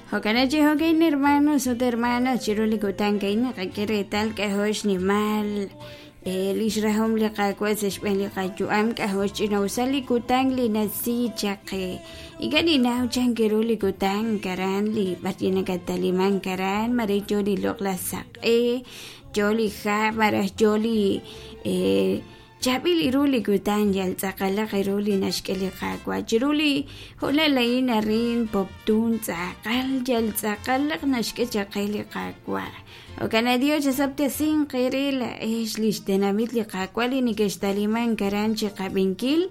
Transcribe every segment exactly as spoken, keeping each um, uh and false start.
Jo'kan chi jo'kan hermanos ut hermanas chiru li kutan a'in naqak'e reetal k'a'jo' xnimal lix rajom li Qaawa' sa' xb'een li qayu'am k'a'jo' xch'ina'usal li kutan li nasi chaq qe ink'a' ninnaw chan ru li kutan aran li b'ar nakataliman aran mare yo li loq'laj saq'e yo li hab' malaj yo li chaab'il ru li kutan yal tz'aqalaq ru li naxk'e li Qaawa' chiru li hoonal a'in arin Poptún tz'aqal yal tz'aqalaq naxk'e chaq qe li Qaawa' jo'kan Dios chasab'tesinq eere laa'ex li xtenamit li Qaawa' li neke'xtaliman aran chiqab'inkil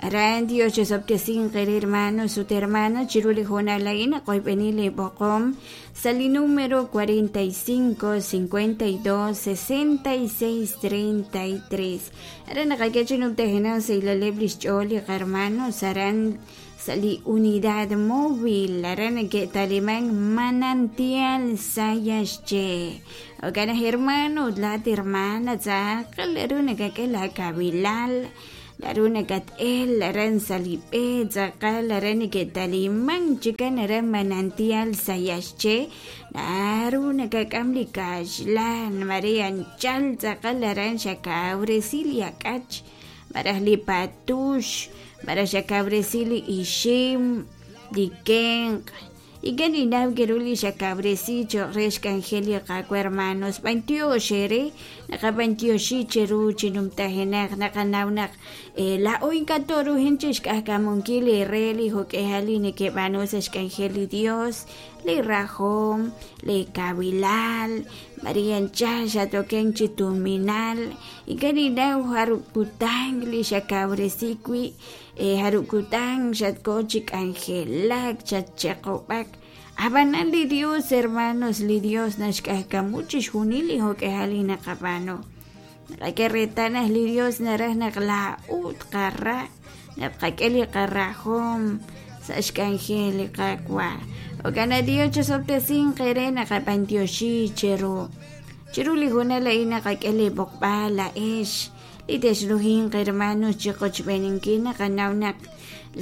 aran Dios chasab'tesinq eere hermanos ut hermanas chiru li hoonal a'in naqoyb'eni li b'oqom sa' li número cuarenta y cinco, cincuenta y dos, sesenta y seis, treinta y tres aran naqak'e chi numtajenaq sa' ilaleb' li xch'ool li qarmanos aran sa' li unidad móvil aran neke'taliman Manantial Sayaxché jo'kan aj hermano ut laat hermana tz'aqal naru nakak'e laakabilal naru nakat'el aran sa' li b'e tz'aqal aran neke'taliman chikan aran Manantial Sayaxché naru nakak'am li kaxlan mare anchal tz'aqal aran xakawresi li ak'ach maraj li patux maraj xakawresi li ixim li kenq ink'a' ninnaw keru li xakawresi cho'q re xk'anjel li Qaawa' hermanos b'antiox eere naqab'antioxi cheru chi numtajenaq naqanaw naq laa'o ink'a' toruhin chi xk'ajk'amunkil eere li jo'k'ehal li neke'b'aanu sa' xk'anjel li Dios li rajom li kabilal Maria anchal xatoken chi tuminal ink'a' ninnaw jarub' kutan li xakawresi wi' jarub' kutan xatko chi k'anjelak xatcheqob'ak ab'anan li Dios hermanos li Dios naxk'ajk'amu chixjunil li jo'k'ehal li naqab'aanu naqak'e reetal naq li Dios naraj naq laa'u tqara naq tqak'e li qarajom sa' xk'anjel li Qaawa' jo'kan Dios chasab'tesinq eere naqab'antioxi cheru chiru li hoonal a'in naqak'e li b'oqb'al laa'ex li texruhinq hermanos chiqochb'eninkil naqanaw naq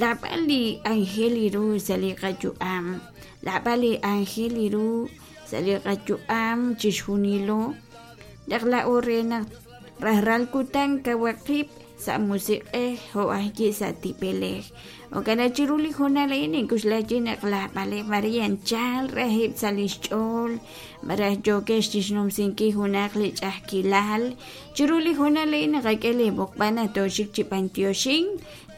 laab'al li ángel ru sa' li qayu'am laab'al li ángel ru sa' li qayu'am chixjunilo naq laa'o re naq rajlal kutan kawaqib' sa' musiq'ej jo' ajwi' sa' tib'elej jo'kan chiru li hoonal a'in ninkuxlayi naq laab'aleb' Maria anchal rajib' sa' li xch'ool maraj yookex chixnumsinkil junaq li ch'a'ajkilal chiru li hoonal a'in naqak'e li b'oqb'al naq tooxik chi b'antioxink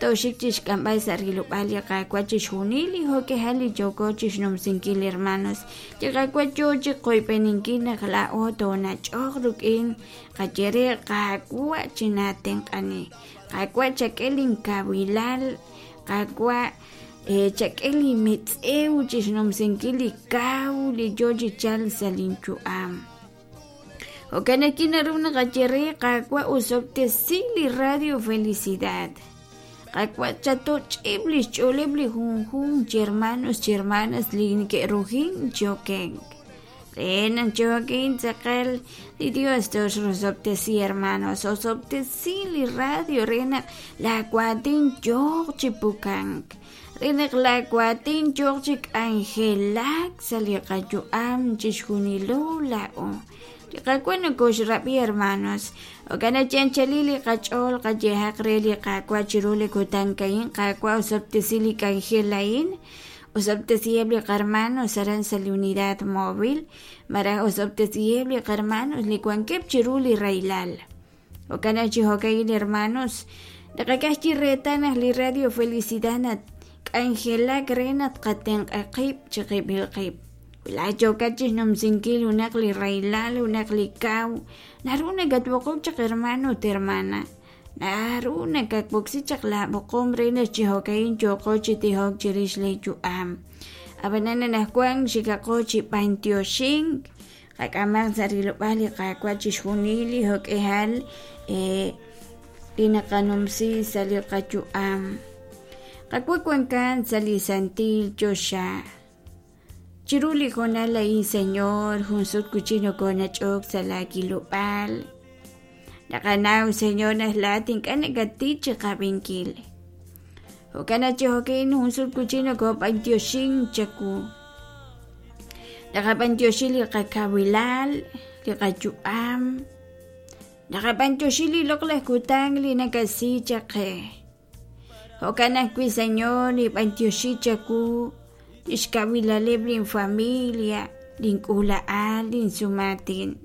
tooxik chixk'amb'al sa' rilob'aal li Qaawa' chixjunil li jo'k'ehal li yooko chixnumsinkil hermanos li Qaawa' yoo chiqoyb'eninkil naq laa'o toonach'oq rik'in qayere Qaawa' chinatenq'ani Qaawa' chak'e linkabilal Qaawa' chak'e li mitz'ew chixnumsinkil li kaw li yoo chi chalk sa' linyu'am jo'kan ajwi' naru naqayere Qaawa' usob'tesi li Radio Felicidad Qaawa' chatoch'ib' li xch'ooleb' li junjunq chi hermanos chi hermanas li neke'rujin chokenk re naq chokin tz'aqal li Dios toxrosob'tesi hermanos osob'tesi li radio re naq laawatin yooq chi pukank re naq laawatin yooq chi k'anjelak sa' li qayu'am chixjunilo laa'o li Qaawa' nokoxrab'i hermanos jo'kan chanchali li qach'ool qayehaq re li Qaawa' chiru li kutan a'in Qaawa' osob'tesi li k'anjel a'in osob'tesiheb' li qarmanos aran sa' li unidad móvil maraj osob'tesiheb' li qarmanos li wankeb' chiru li rahilal jo'kan chi jo'ka'in hermanos naqak'aj chi reetal naq li Radio Felicidad nat k'anjelak re naq tqatenq'a qib' chiqib'il qib' la yookat chixnumsinkil junaq li rahilal junaq li kaw naru nakatb'oqok chaq hermano ut hermana naru nakatb'oksi chaq laab'oqom re naq chi jo'ka'in yooqo chi tijok chirix li yu'am ab'anan anaqwan xikaqo chi b'antioxink qak'amaq sa' rilob'aal li Qaawa' chixjunil li jo'k'ehal li naqanumsi sa' li qayu'am Qaawa' wankan sa' li santil choxa chiru li hoonal a'in Señor jun sut kuchi nokonach'ok sa' laakilob'aal naqanaw Señor naq laat ink'a' nakatich chiqab'inkil jo'kan chi jo'kin jun sut kuchi nokob'antioxink chawu Naqab'antioxi li qakawilal, li qayu'am. Naqab'antioxi li loq'laj kutan li nakasi chaq qe. Jo'kan ajwi', Señor, nib'antioxi chawu lix kawilaleb' lin familia, lin k'uula'al, lin sumaatin.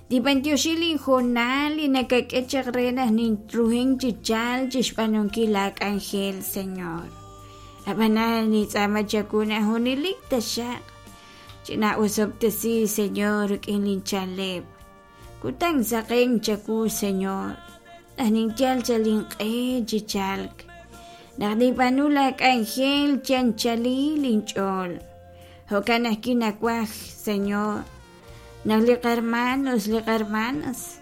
Nib'antioxi lin hoonal li nakak'e chaq re naq ninruhin chi chalk chixb'aanunkil laa k'anjel, Señor. Ab'anan nintz'aama chawu naq junelik taxaq china'osob'tesi, Señor, rik'in lin chaleb'. Kutan saqen chawu, Señor, naq ninyal chal inq'e chi chalk. Naq nib'aanu laa k'anjel chi anchalil inch'ool. Jo'kan ajwi' nawaj, Señor, naq li qarmanos, li qarmanas,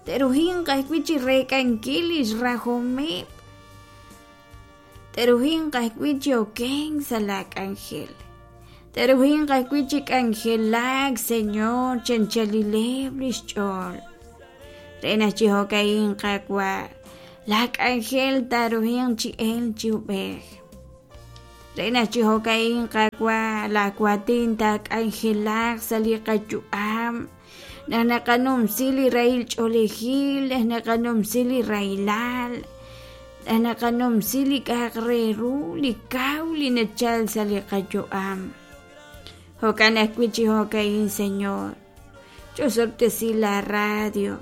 te'ruhinq ajwi' chi reek'ankil lix rajomeb'. Te'ruhinq ajwi' chi okenk sa' laa k'anjel. Te'ruhinq ajwi' chi k'anjelak, Señor, chi anchalileb' lix ch'ool. Re naq chi jo'ka'in Qaawa', laa k'anjel taaruhinq chi el chi ub'ej. Re naq chi jo'ka'in Qaawa', laa waatin taak'anjelaq sa' li qayu'am. Naq naqanumsi li rahil ch'oolejil, naq naqanumsi li rahilal, naq naqanumsi li k'a'aq re ru, li kaw li nachal sa' li qayu'am. Jo'kan ajwi' chi jo'ka'in, Señor, ch'osob'tesi la radio.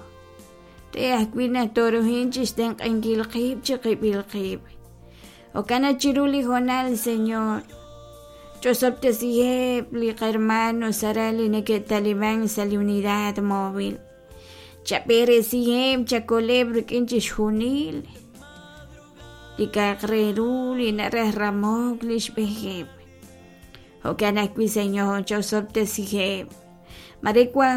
Re ajwi' naq tooruhin chixtenq'ankil qib' chiqib'il qib'. Jo'kan naq chiru li hoonal, Señor, ch'osob'tesiheb' li qarmanos aran li neke'taliman sa' li unidad móvil. Chab'eresiheb', chakoleb' rik'in chixjunil li k'a'aq re ru li naraj ramok lix b'ejeb'. Jo'kan ajwi', Señor, ch'osob'tesiheb'. Mare wan